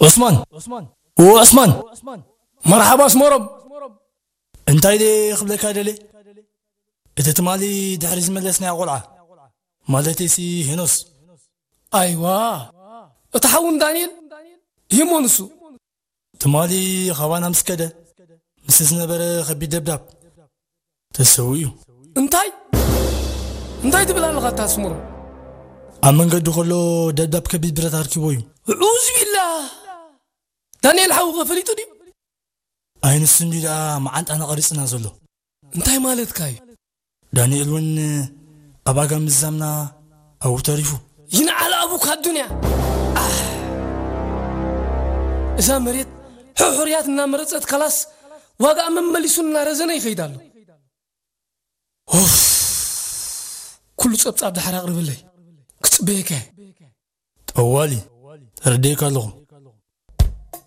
ዑስማን፣ ዑስማን፣ መርሓባ ኣስመሮም። እንታይ ደ ክብለካ ደለ? እቲ ትማሊ ድሕሪ ዝመለስናዮ ቆልዓ፣ ማለተይሲ ሄኖስ። ኣይዋ፣ እቲ ሓውን ዳንኤል፣ ይሞ ንሱ። ትማሊ ኻባና ምስ ከደ፣ ምስ ዝነበረ ከቢድ ደብዳብ ተሰዊኡ። እንታይ እንታይ ትብል ኣለኻ ኣታ ኣስመሮም? ኣብ መንገዲ ከሎ ደብዳብ ከቢድ ብረት ኣርኪቦ እዩ። ዑዝ ቢላ። ዳንኤል ሓውኸ ፈሊጡ ድዩ? ኣይንሱ እንዲ ደኣ መዓንጣና ቀሪጽና ዘሎ። እንታይ ማለትካ እዩ? ዳንኤል እውን ኣብ ኣጋ ምዛምና ኣብኡ ተሪፉ። ይንዓል ኣቡካ ኣዱንያ። ኣሕ፣ እዛ መሬት ሕሑርያት እናመረጸት ካላስ ዋጋኣ መመሊሱ እናረዘነ ይኸይድ ኣሎ። ኡፍ፣ ኩሉ ጸብጻብ ድሓር ኣቕርበለይ፣ ክጽበየካ እየ። ጠዋሊ፣ ተረዲእካ ኣለኹ።